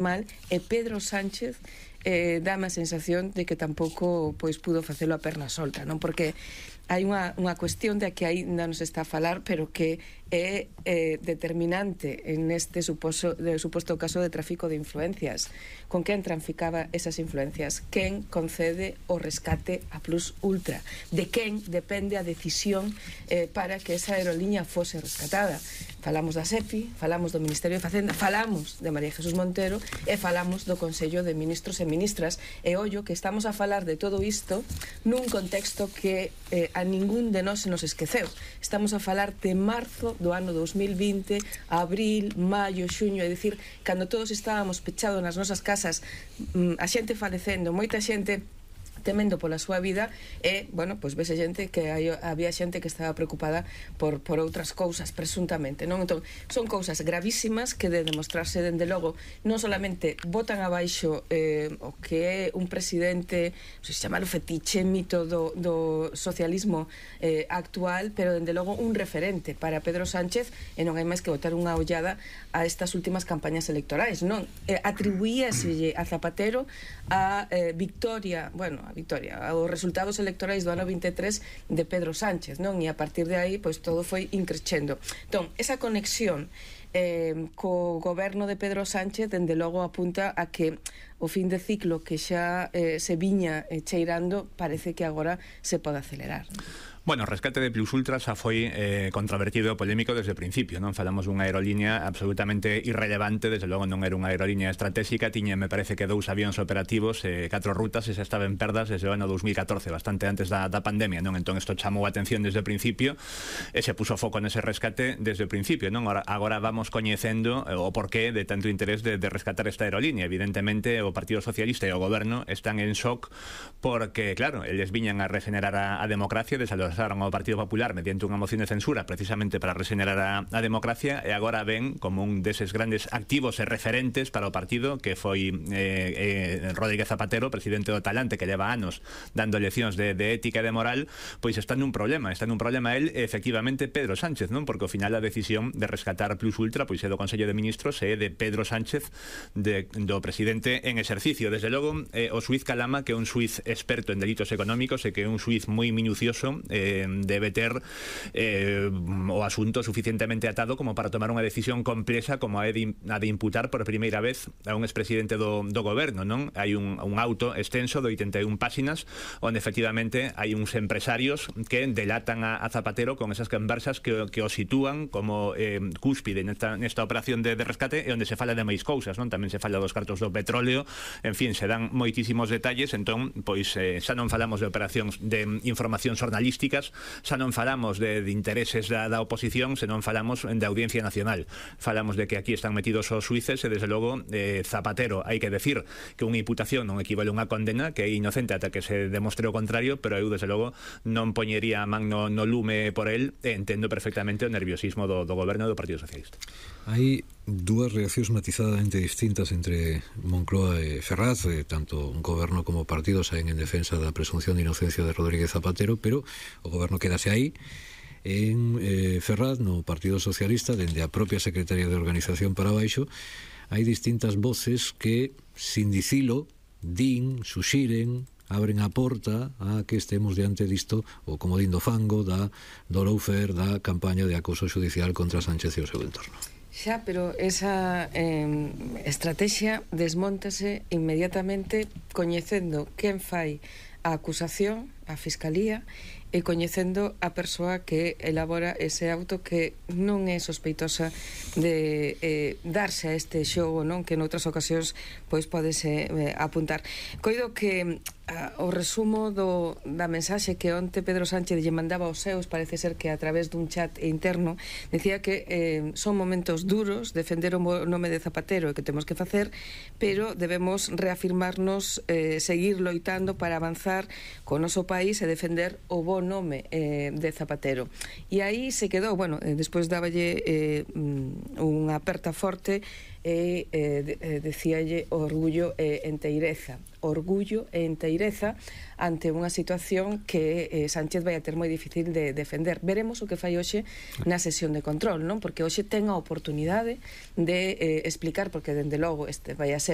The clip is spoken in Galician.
mal, e Pedro Sánchez dáme a sensación de que tampouco pudo facelo a perna solta, non? Porque hai unha cuestión de que ainda non se está a falar, pero que é determinante en este suposto caso de tráfico de influencias. Con quen traficaba esas influencias? Quen concede o rescate a Plus Ultra? De quen depende a decisión para que esa aerolínea fose rescatada? Falamos da SEPI, falamos do Ministerio de Facenda, falamos de María Jesús Montero e falamos do Consello de Ministros e Ministras. E ollo que estamos a falar de todo isto nun contexto que a ningún de nós se nos esqueceu. Estamos a falar de marzo do ano 2020, abril, maio, xuño, é dicir, cando todos estábamos pechados nas nosas casas, a xente falecendo, moita xente temendo pola súa vida, e, bueno, pois vese xente que había xente que estaba preocupada por outras cousas, presuntamente, non? Entón, son cousas gravísimas que de demostrarse, dende logo, non solamente botan abaixo o que é un presidente, non sei se chamar o fetiche, mito do socialismo actual, pero dende logo un referente para Pedro Sánchez, e non hai máis que botar unha ollada a estas últimas campañas electorais, non? Atribuíaselle a Zapatero a victoria, bueno, os resultados electorais do ano 23 de Pedro Sánchez, non? E a partir de aí, pois todo foi increchendo. Entón, esa conexión co goberno de Pedro Sánchez, dende logo apunta a que o fin de ciclo que xa se viña cheirando parece que agora se pode acelerar. Bueno, o rescate de Plus Ultra xa foi controvertido e polémico desde o principio, non? Falamos dunha aerolínea absolutamente irrelevante, desde logo non era unha aerolínea estratégica, tiña, me parece que 2 avións operativos, 4 rutas, e xa estaba en perdas desde o ano 2014, bastante antes da pandemia, non? Entón isto chamou a atención desde o principio e se puso foco nese rescate desde o principio, non? Agora vamos coñecendo o porqué de tanto interés de rescatar esta aerolínea. Evidentemente o Partido Socialista e o Goberno están en shock porque, claro, eles viñan a regenerar a democracia, desalojaron ao Partido Popular mediante unha moción de censura precisamente para regenerar a democracia, e agora ven como un deses grandes activos e referentes para o partido que foi Rodríguez Zapatero, presidente do Talante, que leva anos dando leccións de ética e de moral, pois está nun problema él, efectivamente, Pedro Sánchez, non? Porque ao final a decisión de rescatar Plus Ultra pois é do Consello de Ministros e de Pedro Sánchez, do presidente en exercicio. Desde logo, o xuiz Calama, que é un xuiz experto en delitos económicos e que é un xuiz moi minucioso, debe ter o asunto suficientemente atado como para tomar unha decisión complexa como a de imputar por primeira vez a un expresidente do goberno, non? Hai un auto extenso de 81 páxinas onde efectivamente hai uns empresarios que delatan a Zapatero con esas conversas que o sitúan como cúspide nesta operación de rescate, e onde se fala de máis cousas, non? Tamén se fala dos cartos do petróleo, en fin, se dan moitísimos detalles. Entón, pois xa non falamos de operacións de información xornalística, xa non falamos de intereses da oposición, senón falamos de Audiencia Nacional. Falamos de que aquí están metidos os xuíces e, desde logo, Zapatero, hai que decir que unha imputación non equivale a unha condena, que é inocente ata que se demostre o contrario, pero eu, desde logo, non poñería a man no lume por el, e entendo perfectamente o nerviosismo do goberno do Partido Socialista. Hai dúas reaccións matizadamente distintas entre Moncloa e Ferraz, tanto un goberno como partido saen en defensa da presunción de inocencia de Rodríguez Zapatero, pero o goberno quedase aí. En Ferraz, no Partido Socialista, dende a propia Secretaría de Organización para baixo, hai distintas voces que, sin dicilo, suxiren, abren a porta a que estemos diante disto, o como dindo fango do lawfare, da campaña de acoso xudicial contra Sánchez e o seu entorno. Xa, pero esa estrategia desmóntase inmediatamente coñecendo quen fai a acusación, a Fiscalía, e coñecendo a persoa que elabora ese auto, que non é sospeitosa de darse a este xogo, non? Que noutras ocasións pois podese apuntar. Coido que o resumo da mensaxe que onte Pedro Sánchez lle mandaba aos seus, parece ser que a través dun chat interno, decía que son momentos duros, defender o nome de Zapatero e que temos que facer, pero debemos reafirmarnos, seguir loitando para avanzar co noso país e defender o bo nome de Zapatero. E aí se quedou, bueno, despois dáballe unha aperta forte e decíalle orgullo e enteireza ante unha situación que Sánchez vai a ter moi difícil de defender. Veremos o que fai hoxe na sesión de control, non? Porque hoxe ten a oportunidade de explicar, porque dende logo este vai a ser